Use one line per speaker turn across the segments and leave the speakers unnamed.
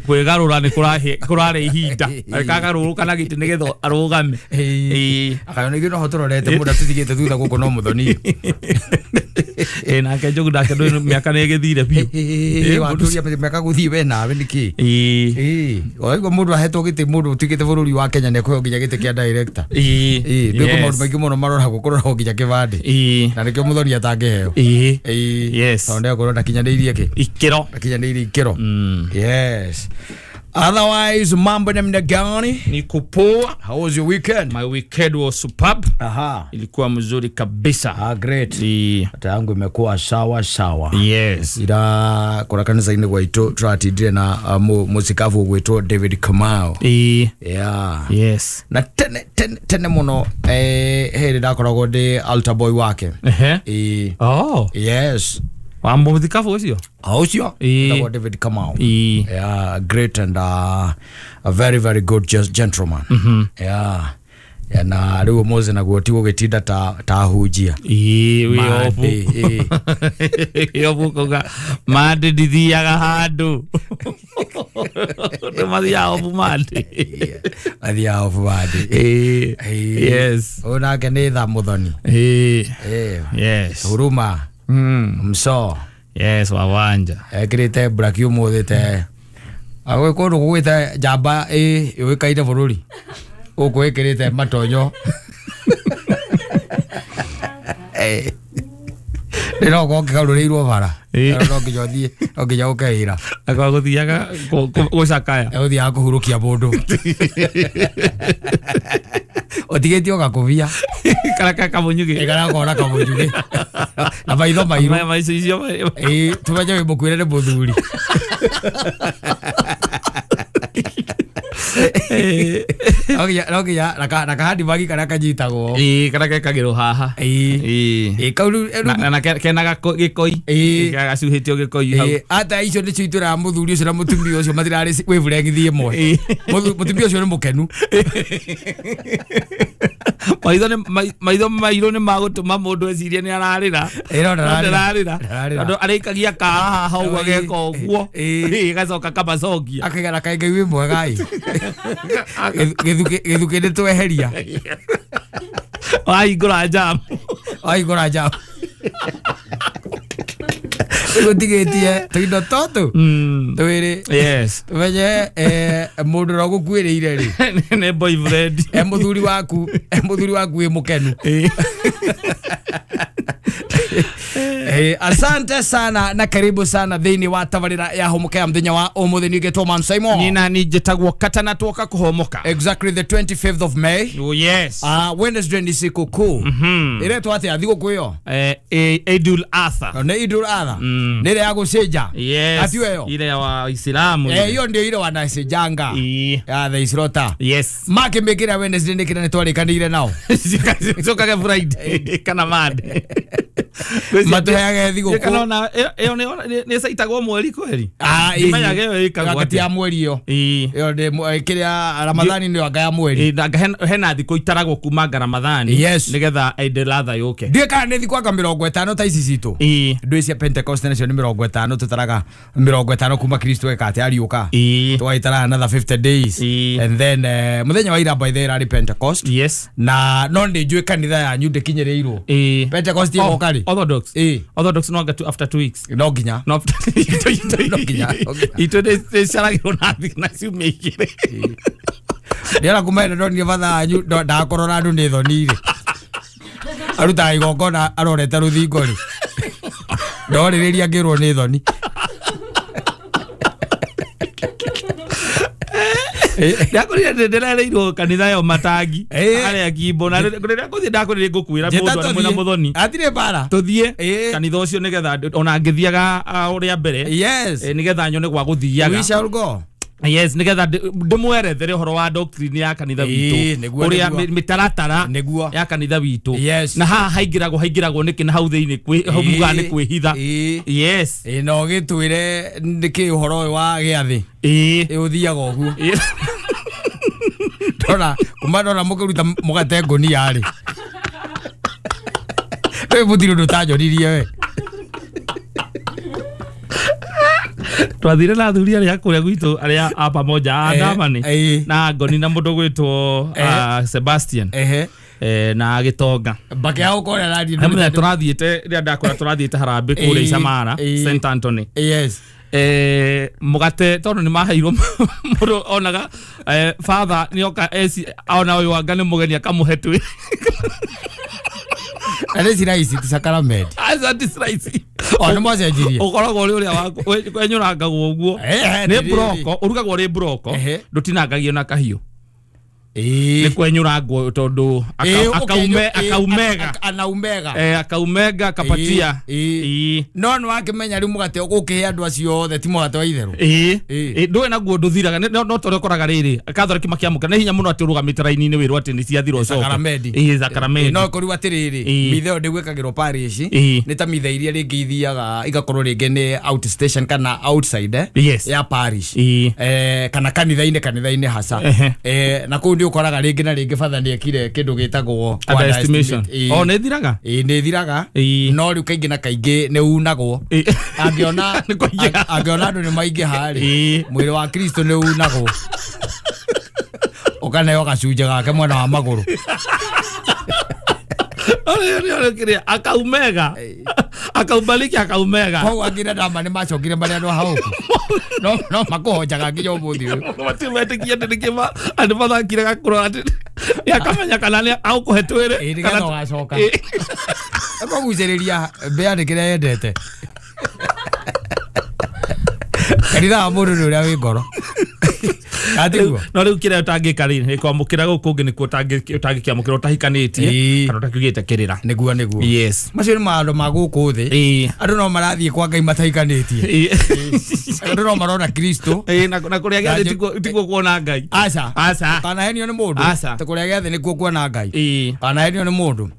Kwĩgarũra nĩ kũrarĩ ihinda kagarũrũka na gĩtĩ nĩgetha arũgame.
Akayona ithuĩ noho tũrorete mũndũ atũtigĩte thutha gũkũ no Mũthoni.
Nake Njogu nake ndũĩ mĩaka nĩ ĩgĩthire biũ.
Watũria mĩaka gũthiĩ we nawe nĩkĩ? Waigua mũndũ ahetwo gĩtĩ mũndũ ũtuĩkĩte bũrũri wa Kenya nĩ ekũheo nginya gĩtĩ kĩa director. Ndũĩ kwĩ maũndũ maingĩ mũno maroragwo kũroragwo nginya kĩbandĩ. Na nĩkĩo Mũthoni atangĩheo.
Yes.
Tondũ nĩegũkorwo ndakinyanĩirie kĩ?
Ikĩro.
Ndakinyanĩirie ikĩro. Yes. Otherwise, mambo namna gani?
Niko poa.
How was your weekend?
My weekend was superb.
Aha.
Ilikuwa mzuri kabisa.
Ah, great. Hata yangu imekuwa sawa sawa.
Yes.
Ira kuna kanisa-inĩ gwaitũ tũratindire na mũcikabu ũgwĩtwo David Kamau. Yeah.
Yes.
Na tene tene tene mũno hĩndĩ ndakoragwo ndĩ altar boy wake.
Oh.
Yes.
Wa mũthikabu ũcio?
Ũcio etagwo David Kamau. Yeah, great and a very very good gentleman. Yeah. Na rĩu ũmũthĩ naguo ti gũgĩtinda ta hunjia.
Wĩ obu. Wĩ obu kuga Monday ndithiaga handũ. Nĩ mathiaga obu Monday.
Mathiaga obu Monday.
Yes.
Ũyũ nake nĩ tha Mũthoni.
Yes.
Huruma. Mso.
Yes, wawanja.
Ekĩrĩte black ũmũthĩ te. Gwĩ kũndũ gũgwĩte njamba yũĩkaine bũrũri. Gũkũ ĩkĩrĩte matonyo. Nĩ no ũkorwo ũkĩgarũrĩirwo bara. No nginya ũthiĩ, no nginya ũke wĩra.
Akorwo gũthiaga gũcakaya.
Ũthiaga kũhurũkia mũndũ. Ũtigĩtie ũgakũbia.
Kana kamũnyugĩ.
Kana gakona kamũnyugĩ. Na maitho mairũ. Tũmenye wĩ mũkuĩre nĩ mũthuri. No nginya na kahandibagi karĩa kanyitagwo.
Karĩa gekagĩrwo haha.
Kau rĩu
Na kena gĩkoi. Gacuhĩtio gĩkoi hau.
Ata icio nĩcio itwĩraga mũthuri ũcio na mũtumia ũcio matirarĩ wavelength ĩmwe. Mũtumia ũcio nĩ mũkenu.
Maitho mairũ nĩ magũtũma mũndũ ecirie nĩ ararĩra. Ndararĩra. Tondũ arĩikagia kara haha ũguo ageka ũguo. Gacoka kamacokia.
Akaiga kaĩ Ngai wĩ mwega ĩ. Gĩthukĩ nĩ tweheria.
Wahingũra jam.
Wahingũra jam. Gũtigĩtie tũindo tũtũ twĩrĩ.
Yes.
Tũmenye mũndũ ũrĩa ũgũkuĩrĩire rĩ.
Nĩ boyfriend.
Mũthuri waku, mũthuri waku wĩ mũkenu. Asante sana na karibu sana thĩinĩ wa tabarĩra ya Homoka ya mũthenya wa ũmũthĩ. Niĩ ngetwo Man Simon.
Niĩ nani njĩtagwo Katana twoka kũhomoka.
Exactly the 25th of May.
Oh yes.
Wednesday ni sikukuu. Ĩretwo atĩa thigũkũ ĩyo?
Idul Adha.
Nĩ Idul Adha. Nĩ ĩrĩa ya gũcĩnja.
Yes.
Ati ĩyo.
Ile ya Waislamu.
Hiyo ndio ile wanacĩnjanga. Ya the islota.
Yes.
Makĩmĩkĩra Wednesday nĩ kĩrĩa nĩtwarĩkanĩire nao.
Cokage Friday kana Monday.
Matũheage thigũkũ.
Kana ona ĩyo nĩ caitagwo mweri kweri. Ndimenyaga ĩyo ĩkagwo
atĩa. Ya mweri ĩyo. Ĩyo nĩ kĩrĩa Ramadhani nĩyo anga ya mweri.
Hena thikũ itaragwo kuma nga Ramadhani.
Yes.
Nĩgetha Idul Adha yũke.
Ndiũĩ kana nĩ thikũ anga 50 ta ici citũ. Ndũĩ cia Pentecost nacio nĩ 50 tũtaraga 50 kuma Kristo eka atĩa ariũka. Tũgaitara another 50 days. And then mũthenya wa ira by the way ĩrarĩ Pentecost.
Yes.
Na no nĩ njũĩ kanitha yanyu ndĩkinyĩrĩirwo. Pentecost ĩgoka rĩ?
Orthodox. Orthodox no anga after 2 weeks.
No nginya.
No
nginya.
Itũ nĩ caragĩrwo na ciumia igĩrĩ.
Ndĩrona kuma ĩno ndonire batha wanyu ndakũrora andũ nĩ thoni rĩ. Arutaga igongona arorete rũthingo rĩ. Ndorĩrĩria ngĩrwo nĩ thoni.
Ndakorire ndĩrereirwo kanitha yo matangi harĩa Kimbo na rĩrĩa ngũthiĩ ndakorire ngũkwĩra mũndũ arĩ mwĩna Mũthoni.
Hatirĩ mbara.
Tũthiĩ kanitha ũcio nĩgetha ona ngĩthiaga ũrĩa mbere.
Yes.
Nĩgetha nyone gwa gũthiaga.
We shall go.
Yes, nĩgetha ndĩmwerethere ũhoro wa doctrine ya kanitha witũ. Ũrĩa mĩtaratara ya kanitha witũ. Na haha haingĩragwo nĩkĩ na hau thĩinĩ hau mugaga nĩ kwĩhitha. Yes.
Na ũgĩtwĩre nĩkĩ ũhoro ũyũ wa gĩathĩ. Ũthiaga ũguo. Ndona kuma ndona mũkĩruta mũgate ngũnia rĩ. Rĩu mũtirĩ ũndũ ũtanjoririe we.
Twathire na athuri arĩa kũrĩa gwitũ arĩa a pamoja a Ndamani na Ngoni na mũndũ gwĩtwo Sebastian na Gĩtonga.
Bakĩao kũrĩa rathiĩ.
Mũthenya tũrathiĩte rĩrĩa ndakora tũrathiĩte harambĩ kũrĩa Icamara St Anthony.
Yes.
Mũgate tondũ nĩ maheirwo mũndũ onaga father nĩoka ona ũyũ anga nĩ mũgeni akamũhe twĩ.
Na nĩ ciraici ti sakaramenti.
Aca ti ciraici.
O nĩ mwacenjirie.
Ũkoragwo ũrĩ ũrĩa waku wenyũrangagwo ũguo. Nĩ broko, ũrugagwo ũrĩ broko, ndũtinangagio na kahiũ. Nĩ kwenyũrangwo tondũ akaumega.
Anaumega.
Akaumega akapatia.
No nĩ wakĩmenya rĩu mũgate ũgũkĩhe andũ acio othe ti mũgate wa itherũ.
Ndũĩ naguo ndũthiraga no ta ũrĩa ũkoraga rĩrĩ Catholic makĩamũkĩra nĩ hinya mũno atĩ ũrũgamĩte raini-inĩ wĩrwo atĩ nĩ ciathira ũcoke.
Sakaramenti.
Sakaramenti.
No kũrĩu atĩrĩrĩ mitha ĩyo ndĩgwĩkagĩrwo parish nĩ ta mitha iria rĩngĩ ithiaga igakorwo rĩngĩ nĩ outstation kana outside ya parish kana kanitha-inĩ hasa na kũu nĩ ũkoraga rĩngĩ na rĩngĩ father nĩ ekire kĩndũ gĩtagwo
underestimation. O nĩ thiraga?
Nĩ thiraga no rĩu kaingĩ na kaingĩ nĩ unagwo. Angĩona andũ nĩ maingĩha rĩ mwĩrĩ wa Kristo nĩ unagwo ũkaneo gacunjĩ gake mwena wa magũrũ.
Akaumega akaubaliki akaumega.
Koguo angĩ ndama nĩ macokire marĩa andũ hau no makũhonjaga nginya ũmũthĩ ũyũ.
Matimetĩkia atĩ nĩkĩma andũ mathakire gakũrora atĩ nĩakamenya kana nĩ agũkũhe twĩrĩ
nĩgetha ũgacoka. Ĩkũgucĩrĩria mbĩa nĩ kĩrĩa yendete. Kanitha wa mũndũ nĩ ũrĩa wĩ ngoro. Atiguo.
No rĩu kĩrĩa ũtangĩka rĩ nĩ kwamũkĩra gũkũ ũngĩ nĩkuo ũtangĩkĩamũkĩra ũtahikanĩtie kana ũtakiugĩte kĩrĩra.
Nĩguo.
Yes.
Macio nĩ maũndũ ma gũkũ thĩ. Andũ no marathiĩ kwa Ngai matahikanĩtie. Andũ no marona Kristo.
Na kũrĩa gĩathĩ tikuo kuona Ngai.
Aca.
Aca.
Kanahenio nĩ mũndũ.
Aca.
Ta kũrĩa gĩathĩ nĩkuo kuona Ngai. Kanahenio nĩ mũndũ.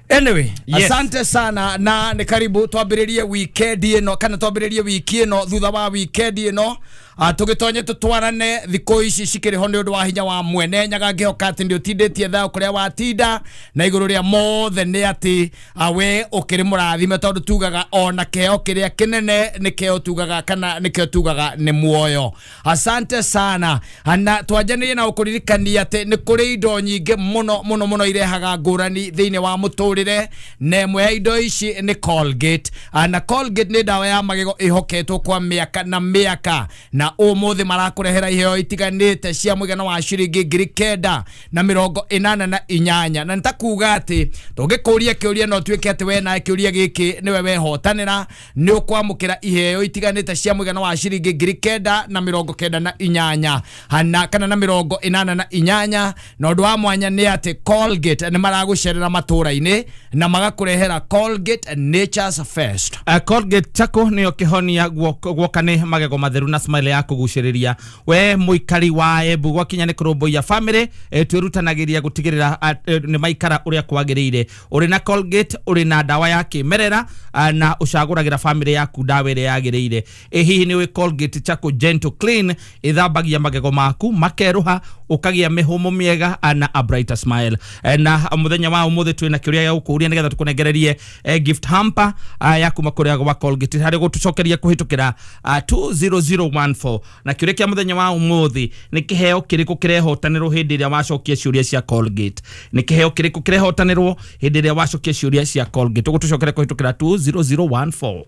Anyway,
yes.
Asante sana na nĩ karibu twambĩrĩrie weekend ĩno kana twambĩrĩrie wiki ĩno thutha wa weekend ĩno tũgĩtonye tũtwarane thikũ ici cikĩrĩ ho nĩ ũndũ wa hinya wa mwene Nyaga ngĩhoka atĩ nĩ ũtindĩtie thayũ kũrĩa watinda na igũrũ rĩa mothe nĩ atĩ we ũkĩrĩ mũrathime tondũ tugaga ona kĩheo kĩrĩa kĩnene nĩkĩo tugaga kana nĩkĩo tugaga nĩ muoyo. Asante sana na twanjanĩrie na ũkũririkania atĩ nĩ kũrĩ indo nyingĩ mũno mũno mũno irehaga ngũrani thĩinĩ wa mũtũrĩre na ĩmwe ya indo ici nĩ Colgate na Colgate nĩ ndawa ya magego ĩhoketwo kwa mĩaka na mĩaka na ũmũthĩ marakũrehera iheo itiganĩte cia mũigana wa ciringi 988 na nĩtakuga atĩ tũngĩkũria kĩũria no tuĩke atĩ we nawe kĩũria gĩkĩ nĩwe wehotanĩra nĩ ũkwamũkĩra iheo itiganĩte cia mũigana wa ciringi 998 hana kana na 88 na ũndũ wa mwanya nĩ atĩ Colgate nĩ maragũcerera matũra-inĩ na magakũrehera Colgate Nature's Fest.
Colgate chako nĩyo kĩhonia guoka nĩ magego matheru na smile ya kũgucĩrĩria we mũikari wa Embu gwakinya nĩ kũrũmbũiya family twĩrutanagĩria gũtigĩrĩra nĩ maikara ũrĩa kwagĩrĩire. Ũrĩ na Colgate ũrĩ na ndawa ya kĩmerera na ũcagũragĩra family yaku ndawa ĩrĩa yagĩrĩire. Hihi nĩ ũĩ Colgate Charcoal Gentle Clean ĩthambagia magego maku makerũha ũkagĩa mĩhũmũ mĩega na a brighter smile. Na mũthenya wa ũmũthĩ twĩna kĩũria gĩa gũkũria nĩgetha tũkũnengererie gift hamper ya kuma kũrĩa gwa Colgate harĩ gũtũcokeria kũhĩtũkĩra 20014 na kĩũria kĩa mũthenya wa ũmũthĩ nĩ kĩheo kĩrĩkũ kĩrehotanĩrwo hĩndĩ ĩrĩa wacokia ciũria cia Colgate. Nĩ kĩheo kĩrĩkũ kĩrehotanĩrwo hĩndĩ ĩrĩa wacokia ciũria cia Colgate. Ũgũtũcokeria kũhĩtũkĩra 20014.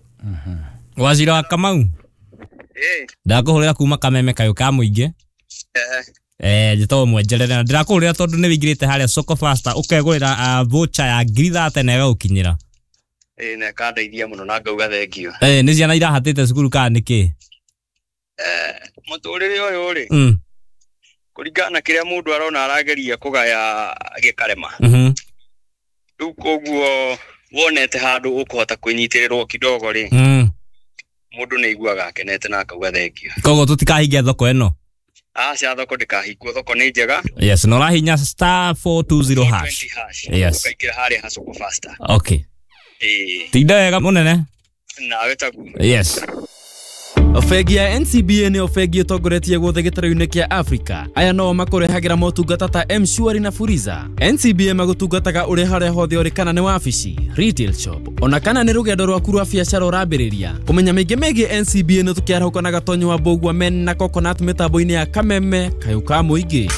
Wazira wa Kamau. Ndakũhũrĩra kuma Kameme kayũ ka mũingĩ. Njĩtagwo Mwenjerere na ndĩrakũhũrĩra tondũ nĩ wĩingĩrĩte harĩa Soko Faster ũkegũrĩra voucher ya 30,000 na ĩgagũkinyĩra.
Na ĩkandeithia mũno na ngauga thengio.
Nĩ ciana irahatĩte cukuru kana nĩkĩ?
Mũtũrĩre ũyũ rĩ kũringana na kĩrĩa mũndũ arona arageria kũgaya gĩkarema. Rĩu koguo wonete handũ ũkũhota kwĩnyitĩrĩrwo kidogo rĩ mũndũ nĩ aiguaga akenete na akauga thengio.
Koguo tũtikahingia thoko ĩno.
Aca thoko ndĩkahingwo, thoko nĩ njega.
Yes, na ũrahinya star 420 hash. Yes.
Ũkaingĩra harĩa ha Soko Faster.
Okay. Tinda wega mũnene.
Nawe taguo.
Yes.
Bengi ya NCBA nĩyo bengi ĩtongoretie guothe gĩtarũ-inĩ kĩa Africa. Aya no makũrehagĩra motungata ta M-Shwari na Fuliza. NCBA magũtungataga ũrĩ harĩa hothe ũrĩ, kana nĩ wabici, retail shop, ona kana nĩ rũgendo rwaku rwa biacara ũrambĩrĩria. Kũmenya maingĩ megiĩ NCBA nĩ tũkĩarahũka na Gatonyo wa Mbũgua men na Coconut mĩtambo-inĩ ya Kameme kayũ ka mũingĩ.